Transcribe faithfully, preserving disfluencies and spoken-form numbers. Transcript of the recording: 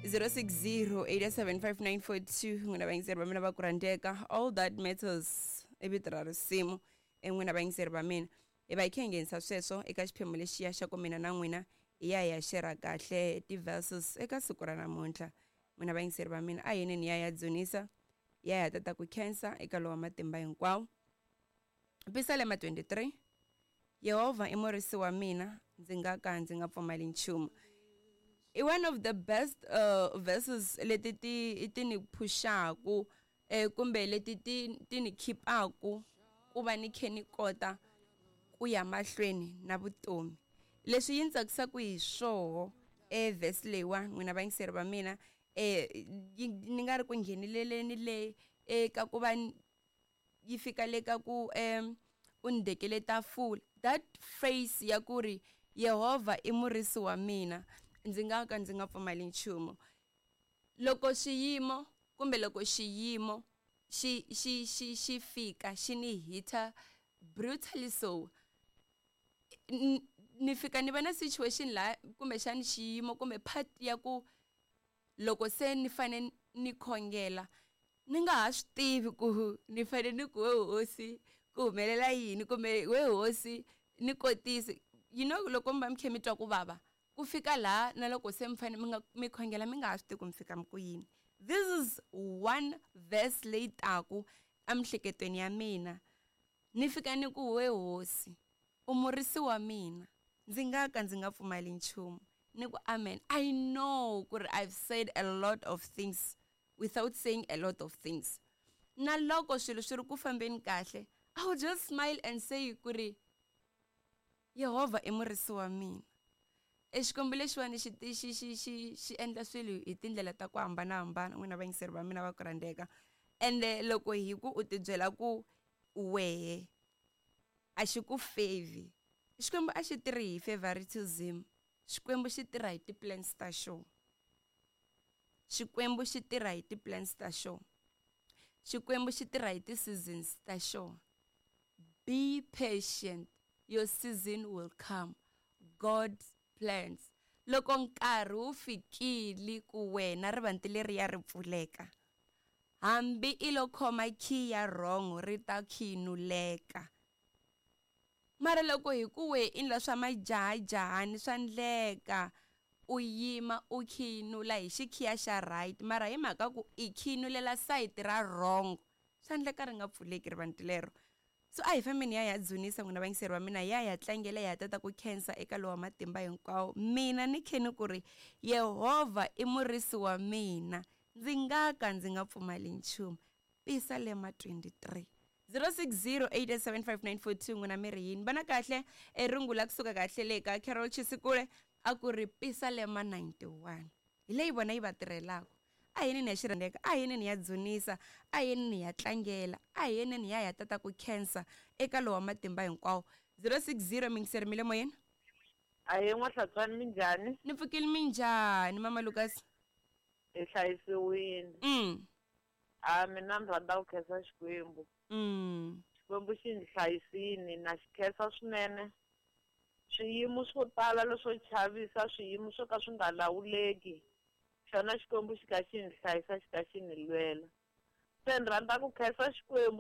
zero six zero eight seven five nine four two n'wina vayingiseri va mina va ku rhandzeka. All that matters i vito ra risimu. N'wina vayingiseri va mina, hi va hi kha hi nghenisa sweswo eka xiphemu lexiya xa ku mina na n'wina hi ya hi ya shera kahle ti-verses eka siku ra namuntlha. N'wina vayingiseri va mina, a hi yeni hi ya ya dzunisa, hi ya hi ya tata ku khensa eka lowa matimba hinkwawo. Pisalema twenty-three, Yehovha i murisi wa mina, ndzi nga ka ndzi nga pfumali nchumu. I one of the best uh, verses leti ti ti ni phuxaku, eh, kumbe leti ti ti ni khipaku ku va ni khe ni kota ku ya mahlweni na vutomi. Leswi yi ni tsakisaka hi swoho e verse leyiwa, n'wina vayingiseri va mina, eh, ni nga ri ku ngheneleleni le eka ku va yi fika le ka ku um u ni dekele tafula. That phrase ya ku ri Yehovha i murisi wa mina, ndzi nga ka ndzi nga pfumali nchumu. Loko xiyimo kumbe loko xiyimo xi xi xi xi fika xi ni hita brutally, so ni fika ni va na situation la kumbexani xiyimo kumbe part ya ku loko se ni fane ni khongela ni nga ha swi tivi ku ni fane ni ku we hosi ku humelela yini kumbe we hosi ni kotisi. You know, loko mi va mi kha mi twa ku vava ku fika laha na loko se mi fane mi nga mi khongela mi nga ha swi tivi ku mi fika mi ku yini. This is one verse leyi taku emiehleketweni ya mina, ni fika ni ku we hosi u murisi wa mina, ndzi nga ka ndzi nga pfumali nchumu. Ni ku amen. I know ku ri I've said a lot of things without saying a lot of things. Na loko swilo swi ri ku fambeni kahle, I will just smile and say ku ri Yehovha i murisi wa mina. E Xikwembu lexiwani xi xi xi xi xi endla swilo hi tindlela ta ku hambanahambana, n'wina vayingiseri va mina va ku rhandzeka. Ende loko hi ku u tibyela ku wehe a xi ku favor, Xikwembu a xi tirhi hi favoritism. Xikwembu xi tirha hi ti-plans ta xona. Xikwembu xi tirha hi ti-plans ta xona. Xikwembu xi tirha hi ti-seasons ta xona. Be patient, your season will come. God's plans. Loko nkarhi wu fikile ku wena rivanti leri ya ri pfuleka, hambi i lo khoma key ya wrong ri ta khinuleka. Mara loko hi ku we i endla swa majahajahani swa ndleka, u yima u khinula hi xikhiya xa right, mara hi mhaka ku i khinulela sayiti ra wrong, swa ndleka ri nga pfuleki rivanti lero. So a hi fambeni ya ya dzunisa n'wina vayingiseri va mina, ya ya tlangela ya tata ku khensa eka lowa matimba hinkwawo. Mina ni khe ni ku ri Yehovha i murisi wa mina, ndzi nga ka ndzi nga pfumali nchumu. Pisalema twenty-three. zero six zero eight seven five nine four two n'wina mi ri yini? Vana kahle e rungula kusuka kahle le ka Carol Chisikule a ku ri Pisalema ninety-one. Hi leyi vona yi va tirhelaka. A hi yeni ni ya xirhendeka, a hi yeni ni ya dzunisa, a hi yeni ni ya tlangela, a hi yeni ni ya ya tata ku khensa eka lowa matimba hinkwawo. zero six zero mingiseri mi le moyeni? Ahee N'wahlatswani, minjhani? Ni pfukile, minjhani Mama Lucas? Hi hlayisiwile. Mm. A mina ni rhandza ku khensa Xikwembu. Mm. Xikwembu xi ni hlayisile, na xi khensa swinene. Swiyimo swo tala leswo chavisa, swiyimo swo ka swi nga lawuleki, xona Xikwembu xi ka xi ni hlayisa, xi ka xi ni lwela. Se ni rhandza ku khensa Xikwembu.